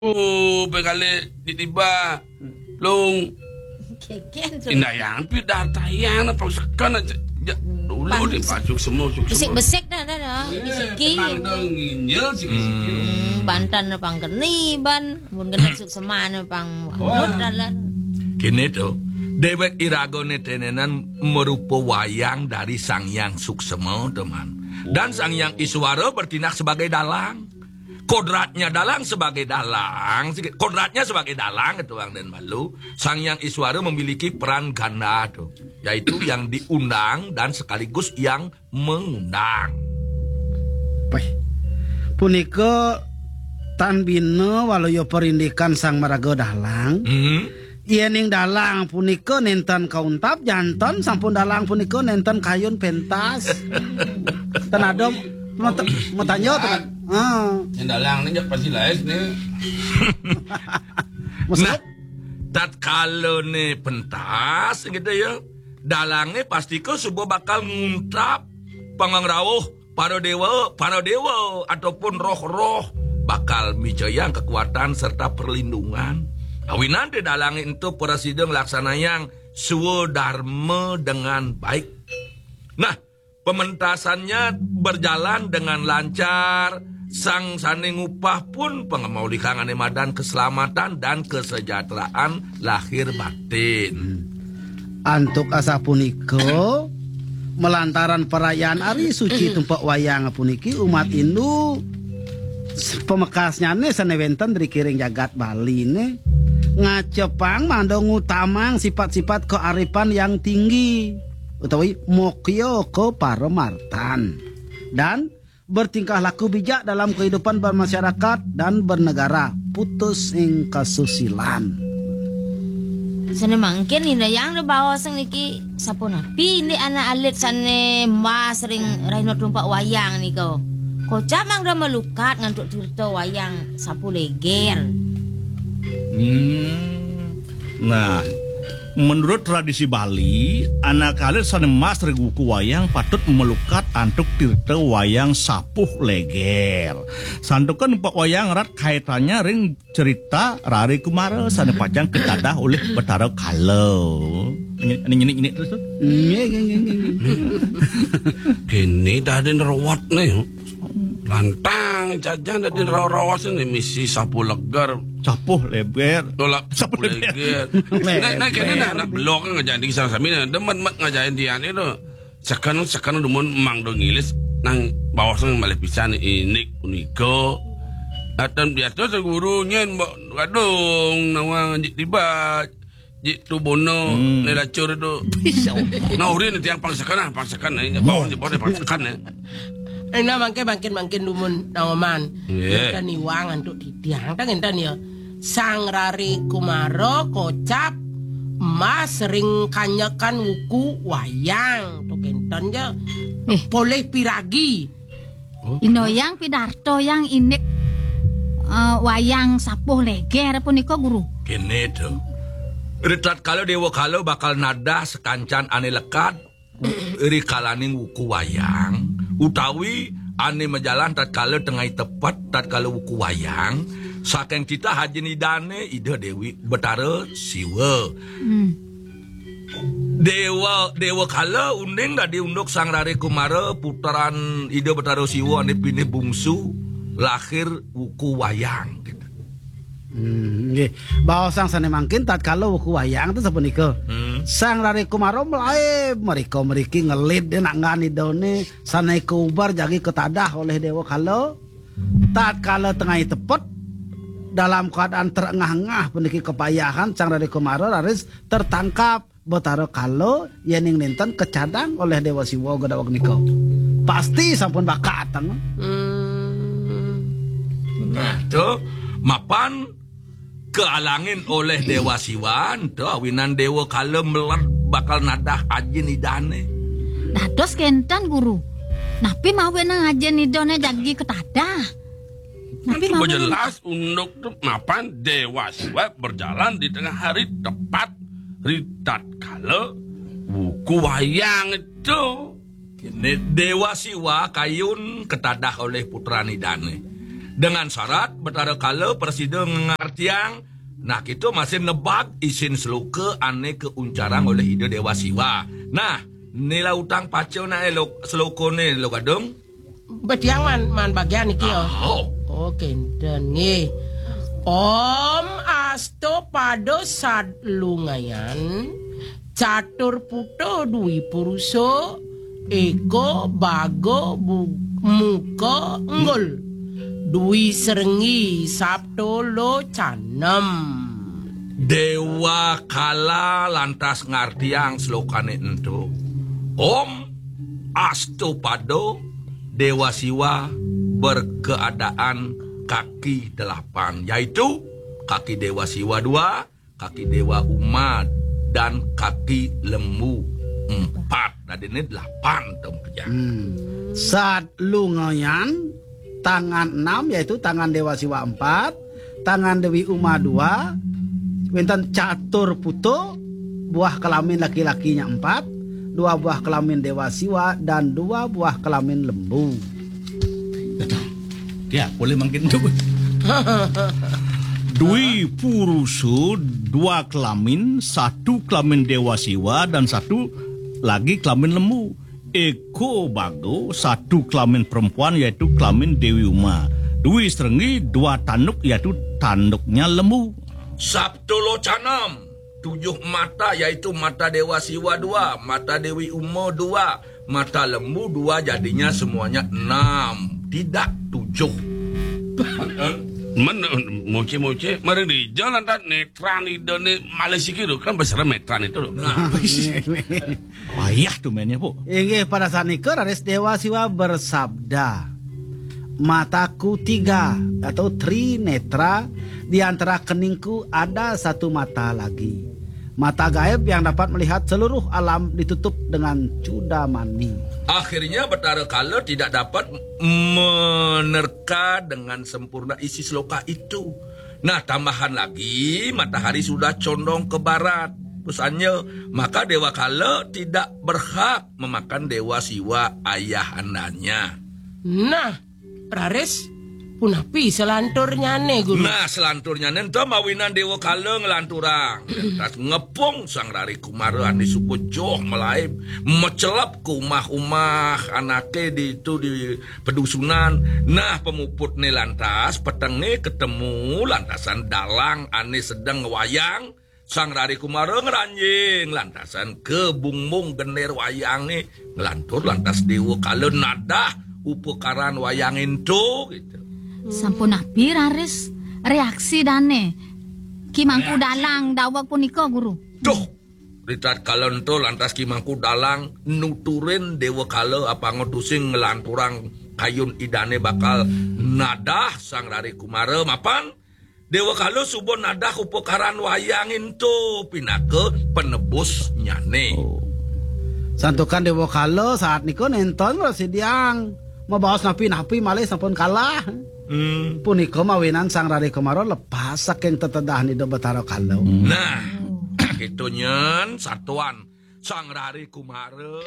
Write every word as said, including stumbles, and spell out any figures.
Oh, pekale di tiba. Lung. Keken tu. Indayang pi datayang na pang seken aja. Ja, dulu di pasuk semua, suk semua. Besik-besik dah, dah, dah. Eh, bisiki. Tenang dong, nginjil, siki-siki. Hmm, bantan na pang keni, ban. Mun kena suk semana pang. Wah. Dalan. Kini tu, dewek iraga ni tenenan merupa wayang dari Sang Yang Suksema, teman. Dan Sang Yang Iswara bertindak sebagai dalang. Kodratnya dalang sebagai dalang, kodratnya sebagai dalang itu Bang dan Malu, Sang Yang Iswara memiliki peran ganda tu, yaitu yang diundang dan sekaligus yang mengundang. Weh, punika tan bina waluya parindikan Sang Maraga Dalang. Hmm. Yening dalang punika nenten kauntap, janten sampun dalang punika nenten kayun pentas. Ten ada mata-, matanya ten. Ha. Yang dalang ni pasti lain ni. Maksud? Nah, tatkala ni pentas gitu ya, dalangnya pasti ke suba bakal nguntap pangangrauh para dewa, para dewa ataupun roh-roh bakal mijayang kekuatan serta perlindungan. Awinan di dalang itu prasida nglaksanayang swadarma dengan baik. Nah, pementasannya berjalan dengan lancar, sang sane ngupah pun pangamaulikang ane madan keselamatan dan kesejahteraan lahir batin. Antuk asapunika, malantaran perayaan Ari Suci tumpek wayang puniki, umat Hindu pamekasnyane sane wenten ring kiring jagat Baline ngacepang mangda ngutamang sifat-sifat kearifan yang tinggi utawi mokya ke paramartan dan bertingkah laku bijak dalam kehidupan bermasyarakat dan bernegara, putus ing kasusilan. Sane mangkin indayang da baos niki, sapunapi indik anak alit sane mas ring rahina tumpek wayang nika? Kocap mangda malukat ngantuk tirta wayang sapu leger. Hmm. Nah, menurut tradisi Bali, anak alit sane mas ring wuku wayang patut malukat antuk tirta wayang sapuh leger. Santukan tumpek wayang rat kaitannya ring cerita Rare Kumara sane pacang katadah oleh Betara Kala. Ini, ini, ini, ini terus tu. Nggih, nggih, nggih, nggih, nggih. Kene dadin rawat ne. Lantang jajan dadin rawas ne misi sapu leger. Sapuh leger. Tolak sapu leger. Nah, nah, kene nah, anak belok kan ngajain di sana sami nah. Demen mat ngajain dia ni tu. Seken, seken dumun mangda ngilis nang baos nang malih pisan indik punika. Natan biasa seguru nyen mbok kadung nawang jik tiba jik tu bono Hmm. ne lacur tu. Nah, urin tiang pang seken ah, pang seken, eh, baos jik pang seken, eh. Eh, nah, mangke, mangkin, mangkin dumun nawaman. Nggih. Kita niwang antuk titiang, tang enten ya. Sang Rare Kumara kocap mas ring kanyekan wuku wayang. Tu kenten ja. Eh. Polih piragi. Indayang pidarta yang indik, eh, wayang sapuh leger punika, Guru. Kene tu. Ritatkala Dewa Kala bakal nadah sakancan ane lekad, rikalaning wuku wayang, utawi ane majalan tatkala tengah tepet, tatkala wuku wayang, saking titah ajin Idane, Ida Dewi Betara Siwa. Hmm. Dewa, Dewa Kala uning dadi unduk Sang Rare Kumara, putran Ida Betara Siwa ane pinih bungsu, lahir wuku wayang. Hmm, nggih. Baosang sane mangkin tatkala wuku wayang tu sapunika. Hmm. Sang Rare Kumara mlaib mrika mriki ngelid nak ngan idane sane kubar jagi ketadah oleh Dewa Kala. Tatkala tengah tepet dalam keadaan terengah-engah puniki kepayahan Sang Rare Kumara raris tertangkap Betara Kala yening nenten kecadang oleh Dewa Siwa gedaweg nika. Pasti sampun bakatang. Hmm. Nah, tu mapan kealangin oleh Dewa Siwa, tu awinan Dewa Kala meled bakal nadah ajin idane. Dados kenten, Guru. Napi mawinan ajin idane jagi ketadah? Napi mawinan? Jelas unduk tu mapan Dewa Siwa berjalan di tengah hari tepat ritatkala wuku wayang itu. Kene Dewa Siwa kayun ketadah oleh putran idane. Dengan syarat Betara Kala prasida ngartiang. Nah, kita masih nebak isin seloka ane kauncarang oleh Ida Dewa Siwa. Nah, nila utang paca nak elok selokone lo gadung. Betiang man, man bagian iki ya. Oh. Oh, kenten nggih. Om asto pado sad lungayan, catur puto dwi puruso, eko bago bu-, muka nggul. Dwi serenggi sabto lo canem. Dewa Kala lantas ngartiang selokane ento. Om asto pado Dewa Siwa berkeadaan kaki delapan, yaitu kaki Dewa Siwa dua, kaki Dewa Uma, dan kaki lembu empat. Dadine delapan, Tom Kejang. Hmm. Sad lungayan, tangan enam, yaitu tangan Dewa Siwa empat, tangan Dewi Uma dua, wenten catur puto, buah kelamin laki-lakinya empat, dua buah kelamin Dewa Siwa, dan dua buah kelamin lembu. Dia boleh makin tu. Dwi purusu, dua kelamin, satu kelamin Dewa Siwa dan satu lagi kelamin lembu. Eko bago, satu kelamin perempuan, yaitu kelamin Dewi Uma. Dwi serenggi, dua tanduk, yaitu tanduknya lembu. Sabto lo canem, tujuh mata, yaitu mata Dewa Siwa dua, mata Dewi Uma dua, mata lembu dua, jadinya semuanya enam, tidak tujuh. Men, moce-moce, mari di jalan dan netran ida ni malah sikit tu, kan besar netran itu tu. Nah. Payah tu mainnya, Bu. Inggih, pada saat nika raris Dewa Siwa bersabda, "Mataku tiga atau tri netra, di antara keningku ada satu mata lagi. Mata gaib yang dapat melihat seluruh alam ditutup dengan cudamani." Akhirnya Betara Kala tidak dapat menerka dengan sempurna isi seloka itu. Nah, tambahan lagi, matahari sudah condong ke barat. Pesannya, maka Dewa Kala tidak berhak memakan Dewa Siwa ayahandanya. Nah, raris, punapi selanturnyane, Guru? Nah, selanturnyane ento mawinan Dewa Kala nglanturang. Lantas ngepung Sang Rari Kumara ane suba joh malaib, mecelep ke umah-umah anake di itu di pedusunan. Nah, pemuputne lantas, petenge ketemu lantasan dalang ane sedeng ngwayang. Sang Rari Kumara ngranjing lantasan kebungbung gender wayange, nglantur lantas Dewa Kala nadah upakaran wayang ento, gitu. Sampun napi raris reaksi dane Ki Mangku Dalang daweg punika, Guru? Duh, ritatkala ento lantas Ki Mangku Dalang nuturin Dewa Kala apanga tusing nglanturang kayun idane bakal nadah Sang Rari Kumara mapan Dewa Kala suba nadah upakaran wayang ento pinaka penebusnyane. Oh. Santukan Dewa Kala saat nika nenten prasidiang mabaos napi-napi malih sampun kalah. Hmm. Punika mawinan Sang Rari Kumara lepas saking tetedahan Ida Betara Kala. Hmm. Nah, keto nyen satuan Sang Rari Kumara.